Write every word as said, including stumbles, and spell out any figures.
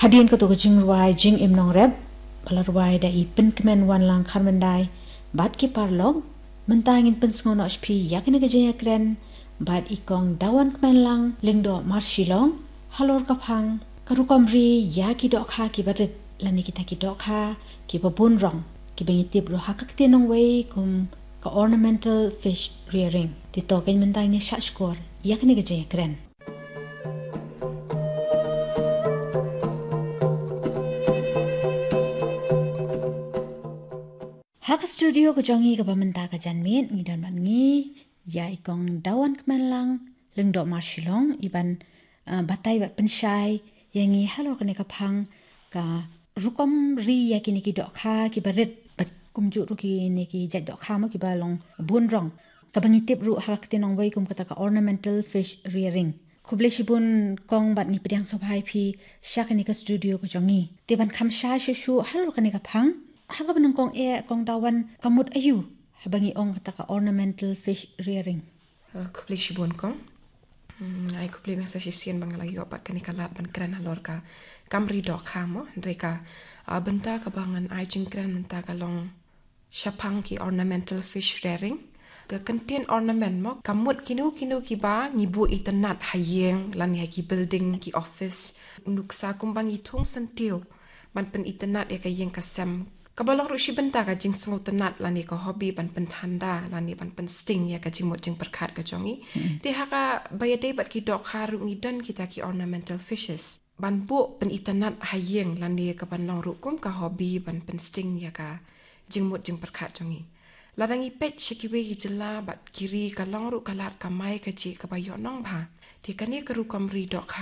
Hadien kato ka jingrwai Jingim Nongrep, ba la rwai da i Pynkmen Wanlang Kharmyndai bad ki paralok, mynta ngin pynsngew noh sha phi ïa kane ka jingïakren bad i Kong Dawan Kmenlang Lyngdoh Marshillong halor ka phang ka rukom ri ïa ki dohkha kiba rit lane kita ki dohkha kiba bun rong, kiba ngi tip ruh ha ka ktien nongwei kum ka ornamental fish rearing. Te to kein mynta ngin ïa shah shkor ïa kane ka jingïakren. Ha ka studio ka jong ngi kaba mynta ka janmiet ngi don bad ngi ïa i Kong Dawan Kmenlang Lyngdoh Marshillong, i ban, ah, batai bad pynshai ïa ngi halor kane ka phang ka rukom ri ïa kine ki dohkha kiba rit bad kumjuh ruh kine ki jait dohkha mo kiba long bun rong, kaba ngi tip ruh ha ka ktien nongwei kum kata ka ornamental fish rearing. Khublei shibun Kong bad ngi pdiang sngewbha ïa phi sha kane ka studio ka jong ngi. Te ban kham shai shuh shuh halor kane ka phang, ha kaba nyngkong eh Kong Dawan, ka mut aïu haba ngi ong kata ka ornamental fish rearing? Ah, khublei shibun Kong. Hmm, ai khublei mynta shisien ba nga la ïoh pat kane ka lad ban kren halor ka kam ri dohkha mo, hynrei ka, ah, bynta kaba ngan ai jingkren mynta ka long shaphang ki ornamental fish rearing. Ka kyntien ornament mo, ka mut kino kino kiba ngi buh itynnad ha ïing lane ha ki building, ki office, nuksa kumba ngi thung syntiew ban pynitynnad ïa ka ïing ka sem. Kaba long ruh shi bynta ka jingsngewtynnad lane ka hobby ban pynthanda lane ban pynsting ïa ka jingmut jingpyrkhat ka jong ngi. Hmm. Te ha kaba ïadei bad ki dohkha ruh ngi don kita ki ornamental fishes ban buh pynitynnad ha ïing lane ka ban long ruh kum ka hobby ban pynsting ïa ka jingmut jingpyrkhat jong ngi. Lada ngi peit sha kiwei ki jylla bad ki ri ka long ruh ka lad kamai kajih kaba ïoh nong bha. Te kane ka rukom ri dohkha